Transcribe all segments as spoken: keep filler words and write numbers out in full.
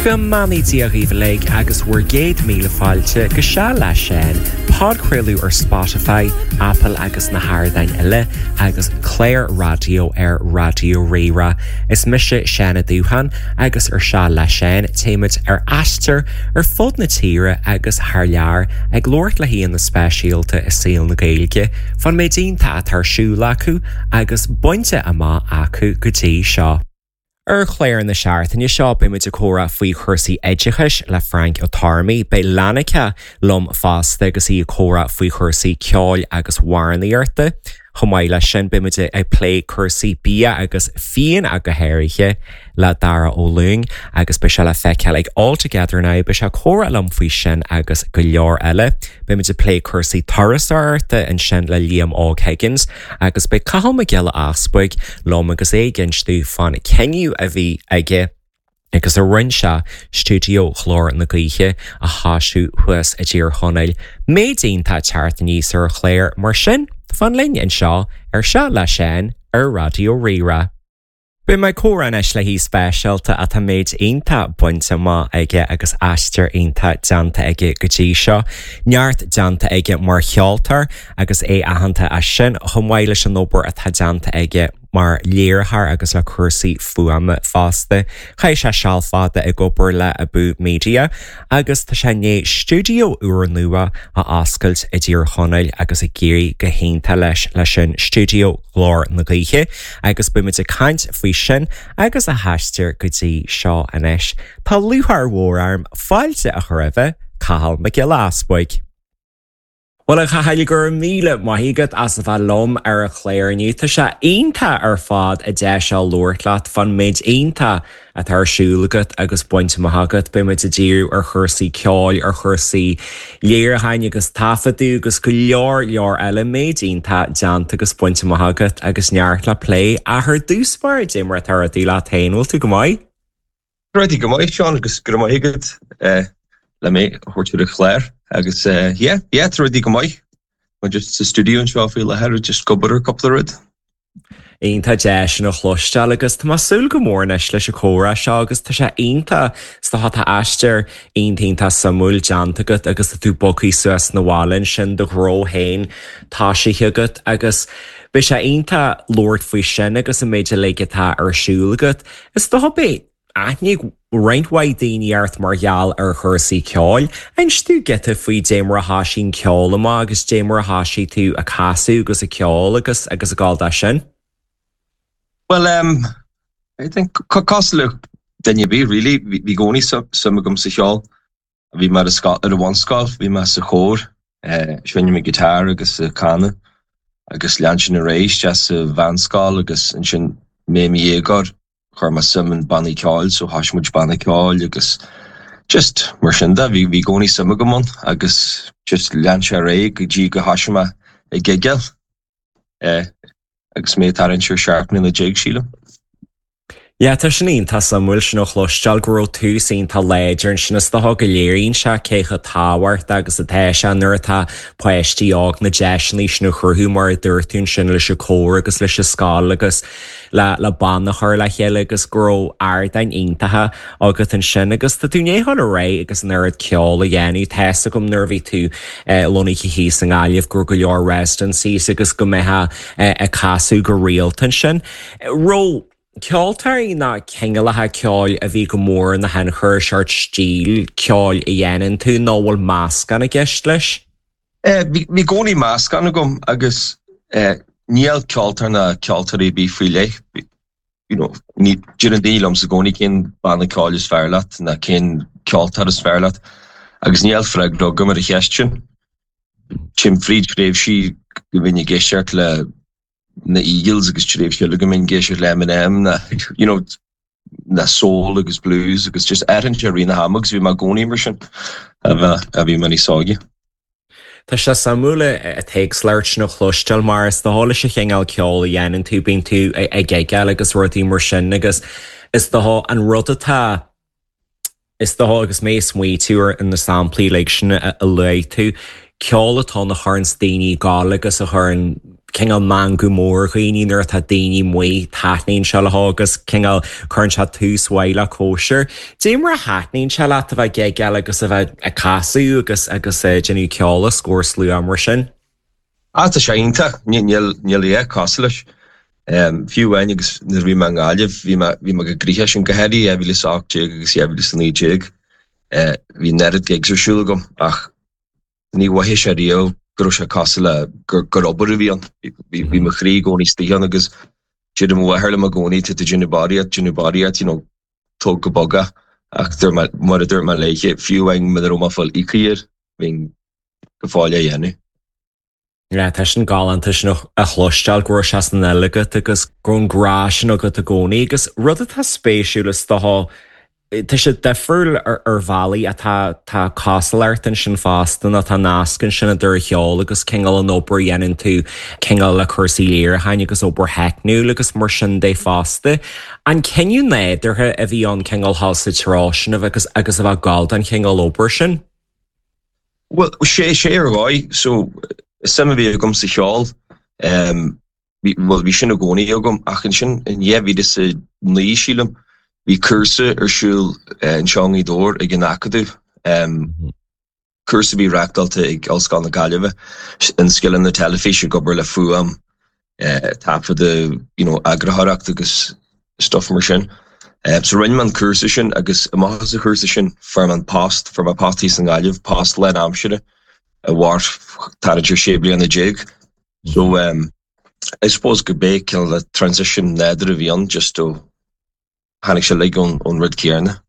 Go mbeannaí Dia dhaoibh uilig agus bhur gcéad míle fáilte go Seal le Seán, podchraoladh ar Spotify, Apple agus na hardáin eile agus clár raidió ar Raidió Rí-Rá. Is mise Seán Ó Dúcháin agus ar Seal le Seán téimid ar aistear ar fud na tíre agus thar lear ag labhairt le haíonna speisialta i saol na Gaeilge, fán méid iontach atá ar siúl acu agus bainte amach acu go dtí seo. Ar chlár na seachtaine seo beimid ag comhrá faoi chúrsaí oideachais le Frank Ó Tormaí, beidh Lanica liom fosta agus í ag comhrá faoi chúrsaí ceoil agus amhránaíochta. Chomh maith leis sin beimid ag plé cúrsaí bia agus fíon a go háirithe le Dara Ó Lúing agus beidh sé le feiceáil ag All Together Now beidh sé ag comhrá liom faoi sin agus go leor eile. Beimid ag plé cúrsaí turasóireachta ansin le Liam Óg Higgins agus beidh Cathal Mac Giolla Easbuig liom agus é ag insint fán cinneadh a bhí aige agus a rinne sé stiúideo Ghlór na Gaoithe a thosú thuas i dTír Chonaill. Méid iontach teacht aníos ar an chlár mar sin fan linn anseo ar Seal le Seán ar Raidió Rí-Rá. Beidh mé ag comhrá anois le haoi speisialta atá méid iontach bainte amach aige agus aistear iontach déanta aige go dtí seo. Neart déanta aige mar cheoltóir agus é aitheanta as sin chomh maith leis an obair atá déanta aige mar léiritheoir agus le cúrsaí fuaime fosta. Chaith sé seal fada ag obair le Abú Media agus tá sé i ndiaidh stiúideo úrnua a oscailt i dTír Chonaill agus ag éirí go hiontach leis leis sin stiúideo Ghlór na Gaoithe agus beimid ag caint faoi sin agus a haistear go dtí seo anois. Tá lúcháir mhór orm fáilte a chur roimh Cathal Mac Giolla Easbuig. Well a Chathail go raibh míle maith agat as a bheith liom ar an chlár inniu. Tá sé iontach ar fad an deis seo labhairt leat fán méid iontach atá ar siúl agat agus bainte amach agat, beimid ag díriú ar chúrsaí ceoil, ar chúrsaí léiriúcháin agus taifeadadh agus go leor leor eile méid iontach déanta agus bainte amach agat agus neart le plé. Ach ar dtús báire cad é mar atá rudaí leat féin, bhfuil tú go maith? Rudaí go maith Seán agus go raibh maith agat le mé a thabhairt ar an chlár agus yeah, yeah, tá rudaí go maith. Má just sa studio anseo faoi láthair just ag obair ar cúpla rud. Iontach deas sin a chloisteáil agus tá mé ag súil go mór anois leis an chomhrá seo agus tá sé iontach is dócha tá aistear iontach iontach suimiúil déanta agat agus tá tú bogtha suas na bhaile ansin do ghnó féin tosaithe agat agus beidh sé iontach labhairt faoi sin agus an méid uilig atá ar siúl agat. Is dócha beidh aithne ag roinnt mhaith daoine ort mar gheall ar chúrsaí ceoil. Inis domh giota faoi cad é mar a thosaigh an ceol amach agus cad é mar a thosaigh tú ag casadh agus ag ceol agus agus ag gabháil dó sin. Well um, I think cosúil le duine ar bith really bhí i gcónaí suim agam sa cheol. Bhí mé ar ar an bhunscoil, bhí mé sa chór, uh, seinnim guitar agus uh, canadh agus lean sin ar aghaidh sa mheánscoil agus ansin mé i mo dhéagóir chuir mé suim in bannaí ceoil so thosaigh muid banna ceoil agus just mar sin de bhí bhí i gcónaí suim agam ann agus just lean sé ar aghaidh go dtí go thosaigh mé ag gigeáil eh, agus mé thart ar seacht mbliana déag sílim. Ja tá sin iontach suimiúil sin a chloisteáil go raibh tús iontach láidir ansin is dócha go léiríonn sé cé chomh tábhachtach agus atá sé nuair atá páistí óg na deiseanna sin a chruthú mar a dúirt tú ansin leis an chór agus leis an scoil agus le le banna a chur le chéile agus go raibh ardáin iontacha agat ansin agus tá tú i ndiaidh dul ar aghaidh agus an oiread ceol a dhéanamh tá a fhios agam nuair a bhí tú lonnaithe thíos i nGaillimh go raibh go leor residencies agus go mbeifeá ag casadh go rialta ansin. Raibh ceoltóirí ná cineálacha ceoil a bhí go mór ina thionchar sórt stíl ceoil a dhéanann tú nó bhfuil meascán i gceist leis? Bhí i gcónaí meascán agam agus níl ceoltóir ná ceoltóirí ar bith faoi leith. You know, ní deireann daoine liom i gcónaí cén banna ceoil is fearr leat ná cén ceoltóir is fearr leat, agus níl freagra agam ar an cheist sin. Téim fríd tréimhsí go mbím ag éisteacht le na Eagles agus tréimhse eile go mbím ag éisteacht le Eminem na you know, na soul agus blues agus just athraíonn sé i rith na hama agus bhí mé i gcónaí mar sin a bheith a bhí mé níos óige. Tá sé suimiúil an t-éagsúlacht sin a chloisteáil mar is dócha leis an chineál ceoil a dhéanann tú bíonn tú ag gigeáil agus rudaí mar sin agus is dócha an rud atá is dócha agus mé ag smaoitiú ar na samplaí like sin a luaigh tú, ceol atá a chuireann daoine ag gabháil agus a chuireann cineál meangadh mór dhaoine nuair atá daoine amuigh taitníonn sé leo agus cineál cuireann sé tús mhaith le cóisir. Dé mar a thaitníonn sé leat a bheith ag gigeáil agus a bheith ag casadh agus agus eh, déanamh ceoil os comhair slua mar sin. Ah tá sé iontach níl níl a dhath cosúil leis. Um, fiú amháin agus nuair bhí mé i nGaillimh bhí mé bhí mé go gríhe sin go heí e bhí áté agus e bhí san déag. Bhí neart gigs ar siúl agam ach ní mhothaigh sé riamh go raibh sé cosúil le gur gur obair a bhí ann bhí mo chroí i gcónaí istigh ann agus deir mo mháthair liom i gcónaí tú déanamh barraíocht déanamh barraíocht you know, tóg go bog é ach mar a dúirt mé léi fiú amháin mura raibh mé ag fáil íoctha air bhínn go fóill á dhéanamh. Yeah, tá sin galánta sin a chloisteáil go raibh sé san fhuil agat agus go raibh an grá sin agat i gcónaí agus rud atá spéisiúil is dócha Tá sé difriúil ar, ar bhealaí atá tá cosúlacht ansin fosta nó tá nasc ansin idir an cheol agus cineál an obair a dhéanann tú cineál le cúrsaí léiriúcháin agus obair theicniúil agus mar sin de fosta. An cinneadh nádúrtha a bhí an cineál dul sa treo sin agus agus a bheith ag gabháil don chineál obair sin? Well sé sé ar dhóigh so suim a bhí agam sa cheol um, well bhí sin i gcónaí agam ach ansin in dhá mhíle is a naoi sílim bhí cúrsa ar siúl anseo i nGaoth Dobhair ag an Acadamh um, cúrsa bhí reáchtáilte ag Ollscoil na Gaillimhe in scileanna teilifíse ag obair le fuaim uh, taifeadadh you know, eagarthóireacht agus stuff mar sin. Uh, so rinne mé an cúrsa sin agus amach as an chúrsa sin fuair mé an post fuair mé post i nGaillimh post lánaimseartha a mhair thart ar sé bliana déag. So um, I suppose go bé le transition nádúrtha a bhí ann just ó tháinig sé le ón ón rud céanna.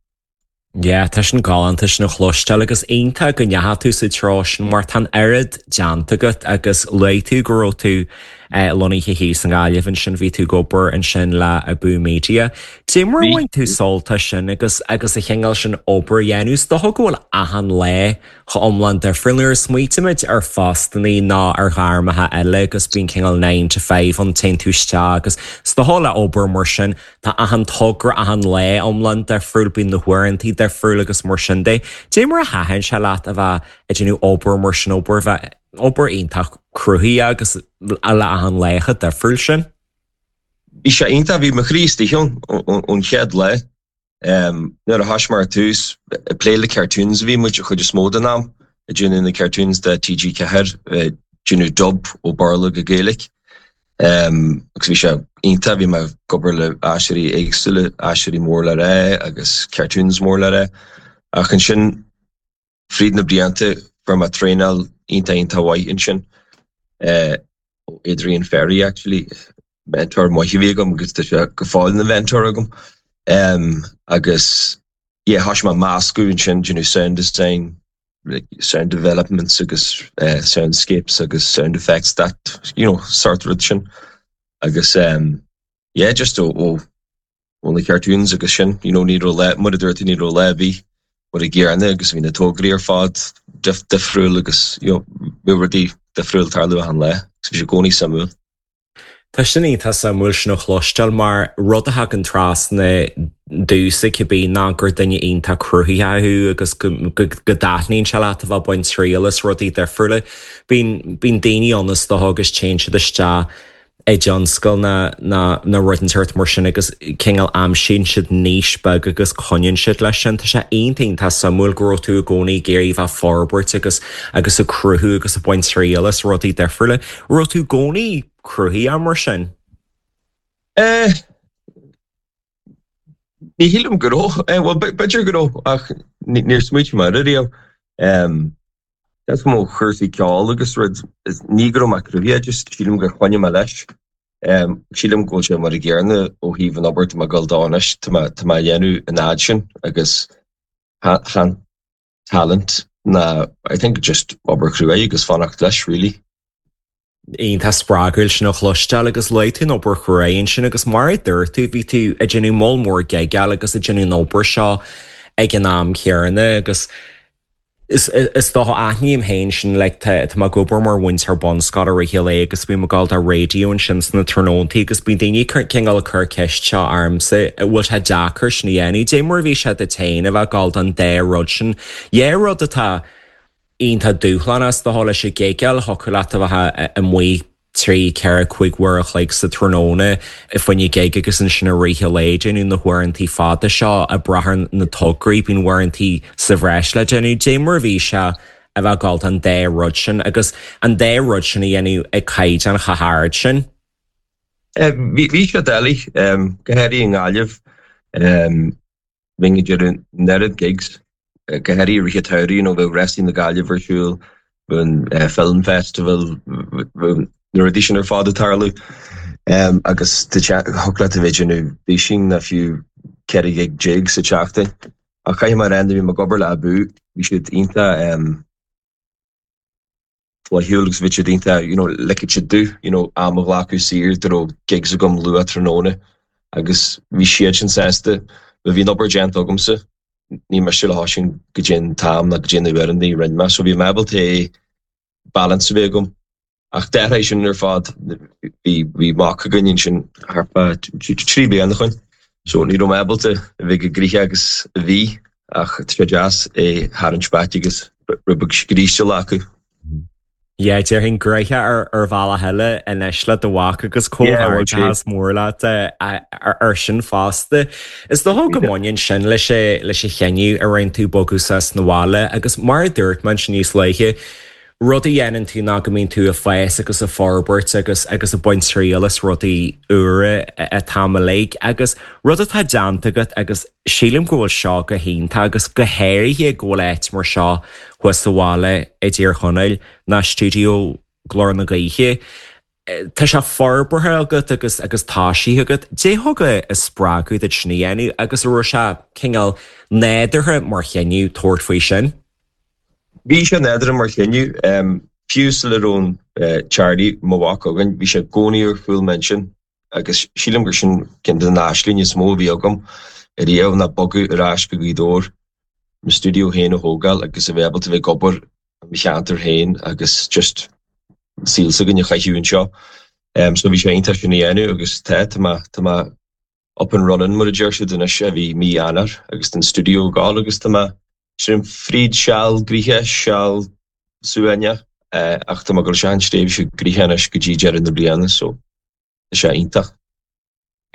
Yeah, tá sin galánta sin a chloisteáil agus iontach go ndeachaigh tú sa treo sin mar tá an oiread déanta agat agus luaigh tú go raibh tú eh, lonnaithe thíos i nGaillimh ansin bhí tú ag obair ansin le Abú Media. Dé mar bhain tú sult as sin agus agus a chineál sin obair a dhéanamh is dócha go bhfuil achan lá chomh iomlán difriúil nuair a smaoitímid ar phostanna ná ar ghairmeacha eile agus bíonn cineál nine to five an téann tú isteach agus is dócha le obair mar sin tá achan togra achan lá iomlán difriúil bíonn na huaireanta difriúil agus mar sin de. Dé mar a thaitin sé leat a bheith ag déanamh obair mar sin obair bheith obair iontach cruthaitheach agus le achan lá chomh difriúil sin. Bhí sé iontach bhí mo chroí istigh ann ón chéad lá. Um, nuair a thosaigh mé ar tús plé le cartoons bhí muid chuid is mó den am ag déanamh na cartoons de TG Ceathair déanamh dub ó Bhéarla go Gaeilge. Um, agus bhí sé iontach bhí mé ag obair le aisteoirí éagsúla aisteoirí mór le rá agus cartoons mór le rá. Ach ansin fríd na blianta fuair mé traenáil iontach iontach mhaith ansin. Uh, Adrian Ferry actually mentor maith a bhí agam agus tá sé go fóill ina mentor agam. Um, agus yeah, thosaigh mé meascadh ansin you know, sound design, like, sound developments agus uh, soundscapes agus sound effects that you know, sort rud sin. Agus um, yeah, just ó ó ó na cartoons agus sin, you know, ní raibh lá mar a dúirt ní raibh lá ar bith mar an gcéanna agus bhí na tograí ar fad dif difriúil agus you know, bhí rudaí difriúil ag tarlú achan lá, agus bhí sé i gcónaí suimiúil. Tá sin iontach suimiúil sin a chloisteáil mar rud a thagann trasna domhsa cibé ná gur duine iontach cruthaitheach thú agus go dtaitníonn sé leat a bheith ag baint triail as rudaí difriúla. Bíonn bíonn daoine ann is dócha agus téann siad isteach i dtionscal na na na rud inteacht mar sin agus cineál aimsíonn siad niche beag agus coinníonn siad leis sin Tá sé iontach tá suimiúil go raibh tú i gcónaí ag iarraidh bheith forbairt agus agus ag cruthú agus ag baint triail as rudaí difriúla. Raibh tú i gcónaí cruthaitheach mar sin? Eh, Ní shílim go raibh eh, well b'fhéidir go raibh ach níor smaointigh mé air riamh. Um, That's mo chúrsaí ceoil agus rud ní go raibh mé cruthaitheach just sílim gur choinnigh mé leis. Um, sílim go bhfuil sé mar an gcéanna ó thaobh an obair tá mé ag dul dó anois tá mé tá mé ag déanamh an fhad sin agus chan talent ná I think just obair chrua agus fanacht leis really. Iontach spreagúil sin a chloisteáil agus luaigh tú an obair chrua sin agus mar a dúirt tú bhí tú ag déanamh moll mór gigeáil agus ag déanamh an obair seo ag an am céanna agus Is is dócha aithním féin sin le tá mé ag obair mar mhúinteoir bunscoile i rith an lae agus bím ag gabháil do raidió ansin sna tráthnóntaí agus bíonn daoine cineál ag cur ceist seo ormsa bhfuil sé deacair sin a dhéanamh. Dé mar bhí sé duit féin a bheith ag gabháil don dá rud sin. Dhá rud atá iontach dúshlánach is dócha leis an gigeáil thiocfadh leat a bheith amuigh trí ceithre cúig uair a chloig sa tráthnóna i bhfoinne gig agus ansin i rith an lae déanamh na huaireanta fada seo ag brath ar na tograí bíonn uaireanta sa bhreis le déanamh dé mar a bhí sé a bheith ag gabháil an dá rud sin agus an dá rud sin a dhéanamh ag caighdeán chomh hard sin. Bhí sé doiligh go háirithe i nGaillimh bhínn ag déanamh an oiread gigs go háirithe i rith an tsamhraidh nó bheadh Rásaí na Gaillimhe ar siúl, bheadh an Film Festival, bheadh na rudaí sin ar fad ag tarlú agus thiocfadh leat a bheith ag déanamh duisín nó fiú ceithre ghig déag sa tseachtain. Ach caithfidh mé a rá nuair a bhí mé ag obair le Abú, bhí siad iontach flaithiúil agus bhí siad iontach you know ligfeadh siad domh you know am a ghlacadh saor dá raibh gigs agam luath tráthnóna agus bhí siad sin sásta má bhí an obair déanta agamsa ní miste le hOisín go dtí an t-am ná go dtí na uaireanta a rinne mé so bhí mé ábalta é balance a bheith agam ach d'athraigh sin ar fad bhí bhí mac againn ansin thart fá trí bliana ó shin so ní raibh mé ábalta a bheith chomh gnoitheach agus a bhí ach tá sé deas é a tharraingt back agus rud beag scríste a ghlacadh. Yeah, déarfainn gnoitheach ar ar bhealach eile anois le do mhac agus comhghairdeas mór leat ar sin fosta. Is dócha go mbaineann sin leis leis an chinneadh a rinne tú bogadh suas na bhaile agus mar a dúirt mé ansin níos luaithe, rud a dhéanann tú ná go mbíonn tú ag fás agus ag forbairt agus agus ag baint triail as rudaí úra an t-am uilig agus rud atá déanta agat agus sílim go bhfuil seo go hiontach agus go háirithe go bhfuil áit mar seo thuas sa bhaile i dTír Chonaill ná stiúideo Glór na Gaoithe. Tá sé forbartha agat agus agus tosaithe agat, Dé thug a spreagadh duit sin a dhéanamh agus an raibh sé cineál nádúrtha mar chinneadh tabhairt faoi sin. Bhí sé nádúrtha mar chinneadh fiú sula raibh an Charlie mo mhac againn, bhí sé i gcónaí ar chúl m'intinn agus sílim gur sin ceann de na aislinge is mó a bhí agam ariamh ná bogadh ar ais go Gaoth Dobhair mo stiúideo féin a thógáil agus a bheith ábalta bheith ag obair i mo cheantar féin agus just saol s'againn a chaitheamh anseo. Um, so bhí sé iontach sin a dhéanamh agus tá tá mé tá mé up and running mar a deir siad anois a bhí mí Eanáir agus an stiúideo ag gabháil agus tá mé sin fríd seal gnoitheach seal suaimhneach ach tá mé ag dul isteach an tréimhse gnoitheach anois go dtí deireadh na bliana so tá sé iontach.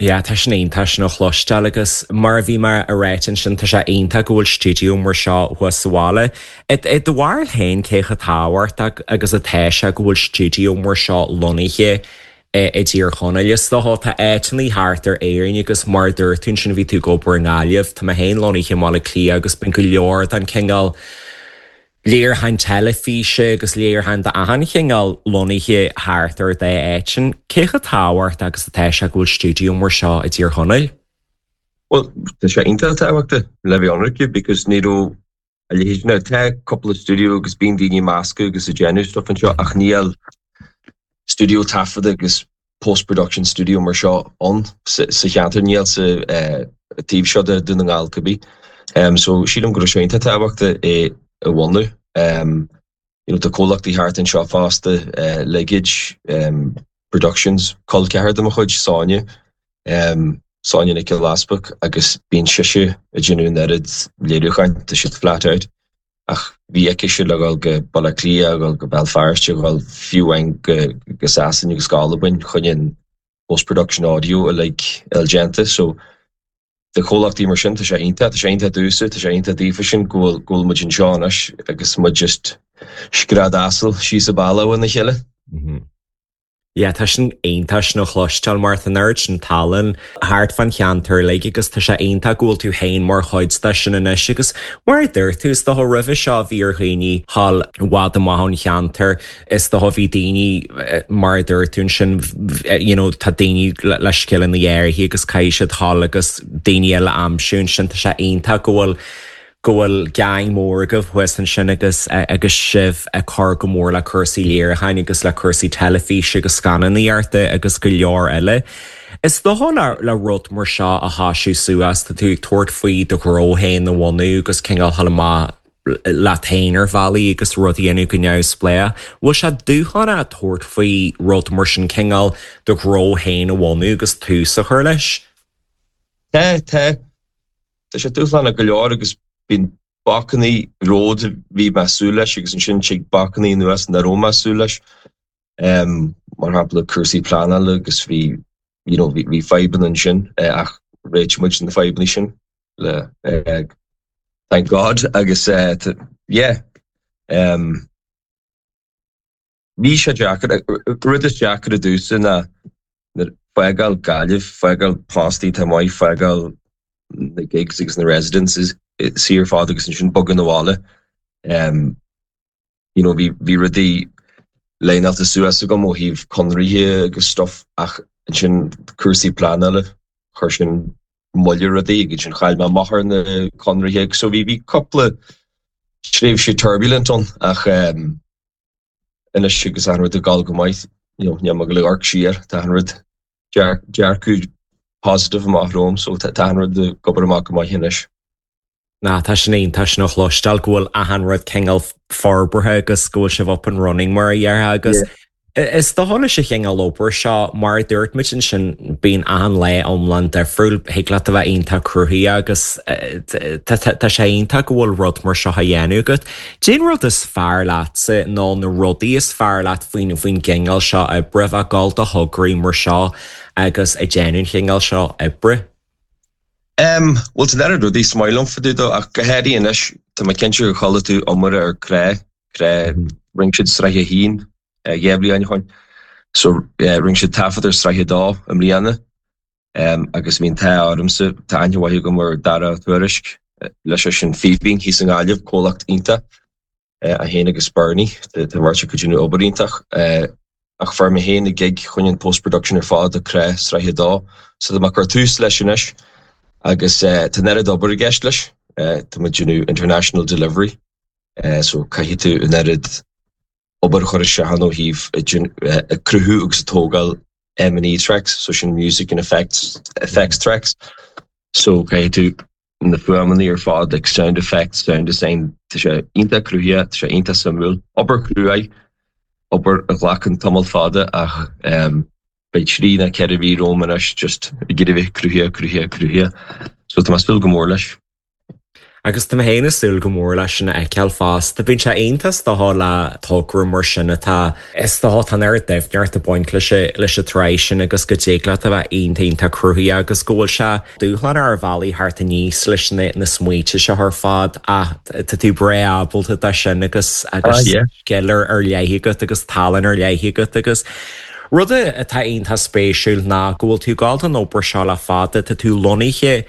Yeah, tá sin iontach sin a chloisteáil agus mar a bhí mé ag rá ansin tá sé iontach go bhfuil stiúideo mar seo thuas sa bhaile. I do bharúil féin cé chomh tábhachtach agus atá sé go bhfuil stiúideo mar seo lonnaithe i dTír Chonaill. Is dócha tá áiteanna thart ar Éirinn agus mar a dúirt tú ansin bhí tú ag obair i nGaillimh, Tá mé féin lonnaithe i mBaile Átha Cliath agus bíonn go leor den cineál léiriúcháin teilifíse agus léiriúcháin d'achan chineál lonnaithe thart ar dá áit sin. Cé chomh tábhachtach agus atá sé go bhfuil stiúideo mar seo i dTír Chonaill? Well, tá sé iontach tábhachtach le bheith ionraic because ní raibh a leithéid now tá cúpla stiúideo agus bíonn daoine measctha agus ag déanamh stuff anseo ach níl stiúideo taifeadta agus post-production studio mar seo ann sa cheantar níl sa taobh seo de Dún na nGall cibé. Um, so sílim go raibh sé iontach tábhachtach é a bhunú. Um, you know, tá comhlachtaí thart anseo fosta uh, Leggage um, Productions col ceathar de mo chuid Sonia um, Sonia Nic Lasbach agus bíonn sise ag déanamh an oiread léiriúcháin tá siad flat out ach bhí aici sé le dul go Baile Átha Cliath dul go Béal Feirste dul fiú amháin go go Sasana agus go Albain chun an post-production audio uilig a déanta so de chomhlachtaí mar sin tá sé iontach tá sé iontach domhsa tá sé iontach daofa sin go bhfuil go bhfuil muid anseo anois agus muid just scread asail síos an bealach óna chéile. Yeah, tá sin iontach sin a chloisteáil mar tá an oiread sin tallann thart fan cheantar uilig agus tá sé iontach go bhfuil tú féin mar chuid de sin anois agus mar a dúirt tú is dócha roimhe seo bhí ar dhaoine thall i bhfad amach ón cheantar is dócha bhí daoine mar a dúirt tú ansin you know, tá daoine le, le scileanna áirithe agus caithfidh siad thall agus daoine eile aimsiú ansin tá sé iontach go bhfuil go bhfuil gang mór agaibh thuas ansin agus agus sibh ag cur go mór le cúrsaí léiriúcháin agus le cúrsaí teilifíse agus scannánaíochta agus go leor eile. Is dócha le le rud mar seo a thosú suas tá tú ag tabhairt faoi do ghnó féin a bhunú agus cineál dul amach leat féin ar bhealaí agus rud a dhéanamh go neamhspleách. Bhfuil sé dúshlánach tabhairt faoi rud mar sin cineál do ghnó féin a bhunú agus tús a chur leis? Tá tá Tá sé dúshlánach go leor agus bíonn bacanna romhat a bhí mé ag súil leis agus ansin tig bacanna anuas nach raibh mé ag súil leis. Um, mar shampla cúrsaí pleanála agus bhí you know, bhí fadhbanna ansin uh, ach réitigh muid na fadhbanna sin le uh, thank God agus uh, yeah um, bhí sé deacair rud is deacair domhsa ná fágáil Gaillimh fágáil postaí tá maith fágáil na gigs agus na residences ar fad agus ansin bogadh abhaile um, you know, bhí bhí rudaí líneáilte suas agam ó thaobh conarthaí agus stuff ach ansin cúrsaí pleanála chuir sin moill ar rudaí agus sin chaill mé amach ar na conarthaí so bhí bhí cúpla tréimhse turbulent ann ach um, anois agus an rud ag dul go maith you know, níl mé ag amharc siar tá an rud dearcadh positive amach romham so tá an rud ag obair amach go maith anois. Ná tá sin tá sin a chloisteáil go bhfuil achan rud cineál forbartha agus go bhfuil sibh up and running mar a dhéarfá agus Is dócha leis an chineál obair seo mar a dúirt muid ansin bíonn achan lá iomlán difriúil thig leat a bheith iontach cruthaitheach agus tá sé iontach go bhfuil rud mar seo á dhéanamh agat. Cén rud is fearr leatsa nó na rudaí is fearr leat faoin faoin gcineál seo oibre bheith ag dul do thograí mar seo agus ag déanamh an chineál seo oibre. Um, well tá na rudaí is maith liom fá dtaobh de ach go háirithe anois tá mé cinnte gur chuala tú iomrá ar Crá Crá rinne siad sraith a haon dhá bhliain ó shin. So rinne siad taifead ar sraith a dó i mbliana um, agus bhí an t-ádh ormsa tá aithne mhaith agam ar Dara Tuairisc leis sin Fíbín thíos i nGaillimh comhlacht iontach é féin agus Bernie tá mar go dtí obair iontach ach fuair mé féin an gig chun an post-production ar fad do Crá sraith a dó, so tá mé ag cur tús leis anois agus tá an oiread obair i gceist leis tá muid ag déanamh international delivery so caithfidh tú an oiread obair chur isteach ó thaobh ag cruthú agus tógáil M and E tracks, so sin music and effects effects tracks. So caithfidh tú na fuaimeanna ar fad like sound effects, sound design tá sé iontach cruthaitheach, tá sé iontach suimiúil. Obair cruaidh, obair a ghlacann tamall fada ach um, beidh trí nó ceithre mhí romham anois just ag iarraidh bheith cruthaitheach, cruthaitheach, cruthaitheach. So tá mé ag súil go mór leis. Agus tá mé féin ag súil go mór leis sin a fheiceáil fosta. Bíonn sé iontach is dócha le togra mar sin atá is dócha tá an oiread doimhneacht ag baint leis leis an tsraith sin agus go dtig leat a bheith iontach iontach cruthaitheach agus go bhfuil sé dúshlán ar bhealaí thart aníos leis na, na smaointe seo ar fad ach tá tú breá ábalta dó sin agus agus Ah, yeah. scil ar ar leith agat agus tallann ar leith agat agus Rud atá iontach spéisiúil ná go bhfuil tú ag gabháil don obair seo le fada tá tú lonnaithe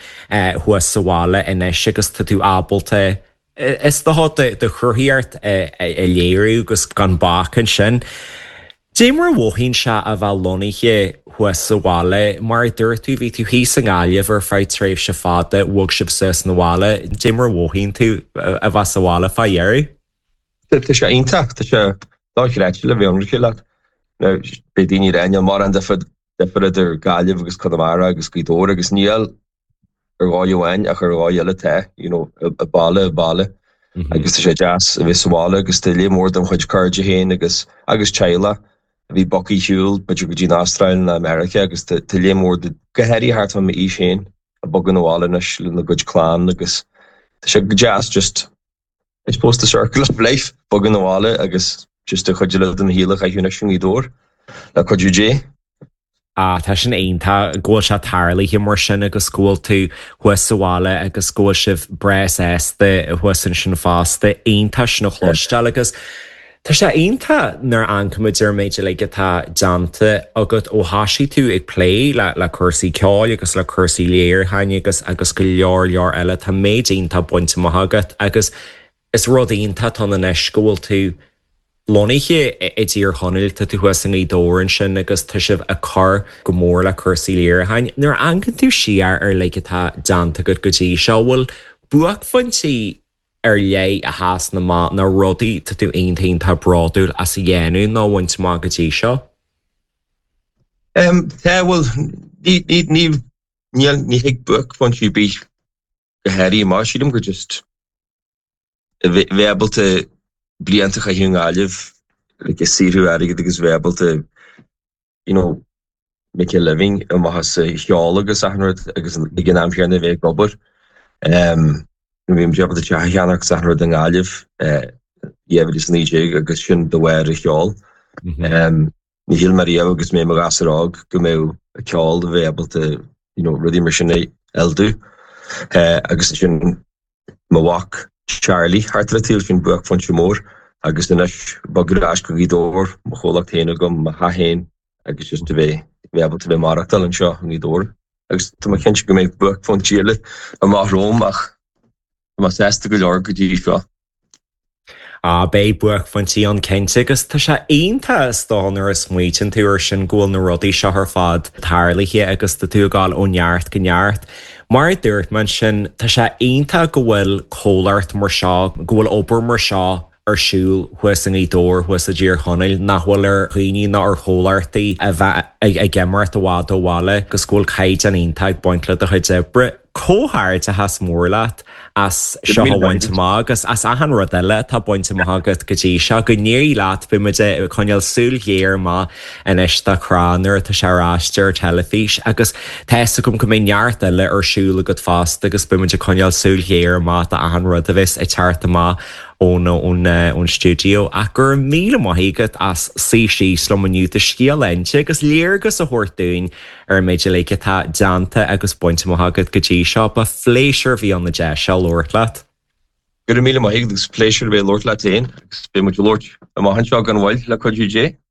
thuas sa bhaile anois agus tá tú ábalta is dócha do chruthaitheacht a léiriú agus gan bac ansin. Dé mar a mhothaíonn sé a bheith lonnaithe thuas sa bhaile, mar a dúirt tú bhí tú thíos i nGaillimh ar feadh tréimhse fada bhog sibh suas na bhaile, Dé mar a mhothaíonn tú a bheith sa bhaile fá dheireadh? Tá sé iontach tá sé dochreidte le bheith ionraic leat. Beidh daoine ag rá níl mórán difear difear idir Gaillimh agus Conamara agus Gaoth Dobhair agus níl ar dhóigh amháin ach ar dhóigh eile tá you know, i baile i baile agus tá sé deas a bheith sa bhaile agus tá léar mór dem chuid cairde féin agus agus teaghlach a bhí bogtha ar shiúl b'fhéidir go dtí an Astráil nó America agus tá léar mór de go háirithe thart fá m'aois féin ag bogadh abhaile anois lena gcuid clann agus tá sé go deas just I suppose the circle of life bogadh abhaile agus just a chuid eile den shaol a chaitheamh anois i nGaoth Dobhair le cuidiú Dé. Ah, tá sin iontach go bhfuil sé tarlaithe mar sin agus go bhfuil tú thuas sa bhaile agus go bhfuil sibh breá sásta thuas ansin fosta iontach sin a chloisteáil agus Tá sé iontach nuair a amharcaimid ar an méid uilig atá déanta agat ó thosaigh tú ag plé le le cúrsaí ceoil agus le cúrsaí léiriúcháin agus agus go leor leor eile tá méid iontach bainte amach agat agus is rud iontach atá anois go bhfuil tú lonnaithe i dTír Chonaill tá tú thuas i nGaoth Dobhair ansin agus tá sibh ag cur go mór le cúrsaí léiriúcháin. Nuair a amharcann tú siar ar uilig atá déanta agat go dtí seo bhfuil buaicphointí ar leith a sheasann amach na rudaí tá tú iontach iontach bródúil as a dhéanamh nó a bhaint amach go dtí seo? Um, tá bhfuil ní ní ní níl ní thig buaicphointí bith go háirithe amach sílim gur just bheith ábalta blianta a chaitheamh i nGaillimh like ag saothrú airgid agus bheith ábalta you know make a living amach as an cheol agus achan rud agus ag an am céanna bheith ag obair. Um, bhí mé ábalta teach a cheannach agus achan rud i nGaillimh dhá mhíle is naoi déag agus sin de bharr an cheoil. Ní shíl mé riamh agus mé i mo ghasúr óg go mbeadh an ceol a bheith ábalta you know, rudaí mar sin a fhoilsiú. Agus ansin mo mhac Charlie thart ar an tsaol sin buaicphointe mór agus anois bogadh ar ais go Gaoth Dobhair, mo chomhlacht féin agam, mo theach féin agus just a bheith bheith ábalta bheith maireachtáil anseo i nGaoth Dobhair. Agus tá mé cinnte go mbeidh buaicphointí eile amach romham ach tá mé sásta go leor go dtí seo. Á beidh buaicphointí ann cinnte agus tá sé iontach is dóigh nuair a smaoitíonn tú ar sin go bhfuil na rudaí seo ar fad tarlaithe agus tá tú ag dul ó neart go neart. Mar a dúirt mé ansin, tá sé iontach go bhfuil comhlacht mar seo, go bhfuil obair mar seo ar siúl thuas i nGaoth Dobhair thuas i dTír Chonaill nach bhfuil ar dhaoine ná ar chomhlachtaí a bheith ag imeacht i bhfad ó bhaile agus go bhfuil caighdeán iontach ag baint le do chuid oibre. Comhghairdeachas mór leat as seo a bhaint amach agus as achan rud eile atá bainte amach agat go dtí seo go n-éirí leat beidh muid ag coinneáil súil ghéar amach anois do Crá nuair atá sé ar ais ar teilifís agus tá fhios agam go mbeidh neart eile ar siúl agat fosta agus beidh muid ag coinneáil súil ghéar amach do achan rud a bheas ag teacht amach ón ón ón stiúideo ach go raibh míle maith agat as suí síos liom inniu do scéal a inse agus léargas a thabhairt dúinn ar an méid uilig atá déanta agus bainte amach agat go dtí seo ba phléisiúr a bhí ann an deis seo labhairt leat. Go raibh míle maith agus pléisiúr a bheith labhairt leat féin agus beidh muid ag labhairt amach anseo gan mhoill le cuidiú Dé.